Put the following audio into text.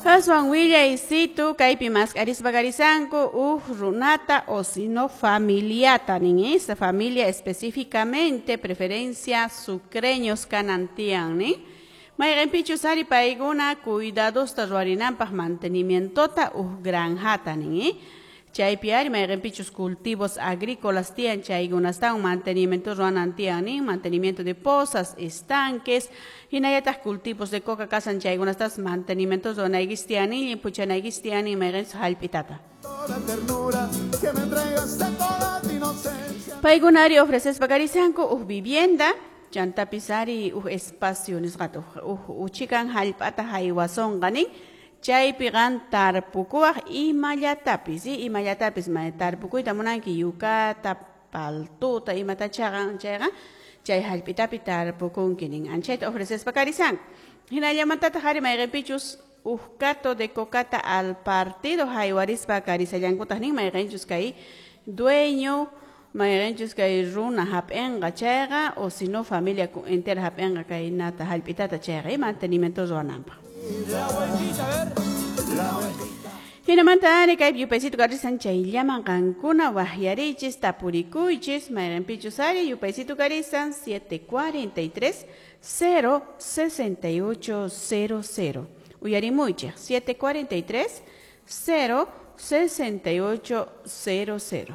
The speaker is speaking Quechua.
Aswan willaysitu kaypi mask'arispa karisanku uj runata o sino familiata nin, esa familia específicamente, preferencia sucreños kanan tiyan nin, mayqinpichus ari paykuna cuidadosta ruwarinanpaq mantenimientota uj granjata nin, chaypi ari mayqinpichus cultivos agrícolas tiyan chaykunastawan mantenimiento ruwanan tiyan nin, mantenimiento de pozas, estanques, hinallataq cultivos de coca kasan chaykunastas mantenimiento ruwanaykis tiyan nin, llimphuchanaykis tiyan nin mayqinchus hallp'itata. Toda ternura que me entregaste toda tu inocencia. Paykuna ari ofrecespa karisanku uj vivienda, chantapis ari uj espacio nisqata uj uchikan hallp'ata haywasonqa nin, chaypi qan tarpukuwaq imallatapis, imallatapis tarpukuyta munanki yukata, paltuta, imatachaqa chayqa chay hallp'itapi tarpukunki nin, anchayta ofrecespa karisanku. Hinallamantataq ari mayqinpichus uj cato de cocata al partido haywarispa karisallankutaq nin, mayqinchus kay dueño, mayqinchus kay runa hap'inqa chayqa o si no familia entera hap'inqa kay nata hallp'itata chayqa mantenimiento ruwananpaq. Hinamanta ari kay yupaysito karisan chayllaman qankuna waqyarichis tapurikuychis mayqinpichus ari yupaysito karisan 743 068 00. Uyarimuychik 743 068 00.